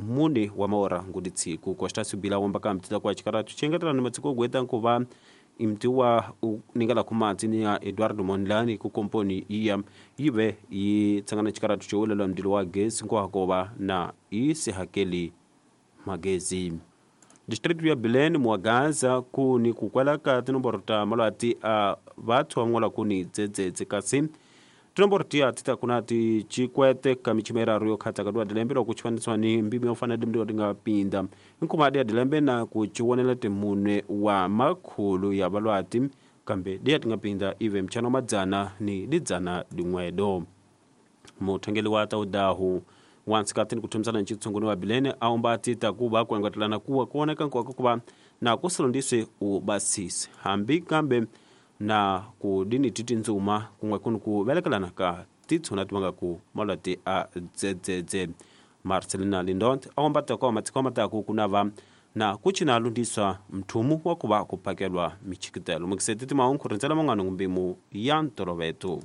Mune wa maora ngudi tsiku. Costa Bila womba ka mtita kwa chikaratu chengetelana matsiko gweta nkuva imtiwa ningala kumatsi ni ya Eduardo Mondlane ku komponi iya yive yi tsangana chikaratu chowelelwa mdilo wa gesi nkohakova na isihakeli magezi. District ya Bilene muagaza kuni kukwela ka tinomboro ta malwati a vathu van'wala kuni dzedzedze, kasi tinomboro tiya ti ta kuna ti chikwete ka michima iraru yo khatsa ka dua dilembe loko chifaniswa ni mbimi yo fana dilembe ti nga pinda nkuma dia dilembe na ku chiwonela timunwe wa makhulu ya valwati, kambe diya ti nga pinda ive mchana wa madzana ni lidzana lin'wedo. Muthangeli wa taudahu wansikati ni kuthomisana ncitsunguni wa Bilene aomba atita kuva kuengetelana kuwa kuoneka nkoka kuva na kusilondiswe ubasisi hambi kambe na kudini titi ndzuma kun'we kuni ku velekelana ka titshuna ti ku malwati a dzedzedze. Marcelina Lindont aomba ta matsiko mataku kunava na kuchina lundiswa mthumu wa kuva kuphakelwa michikitelo. Mukiseti timahungu rindzela man'wana ngumbimu ya ntoloveto.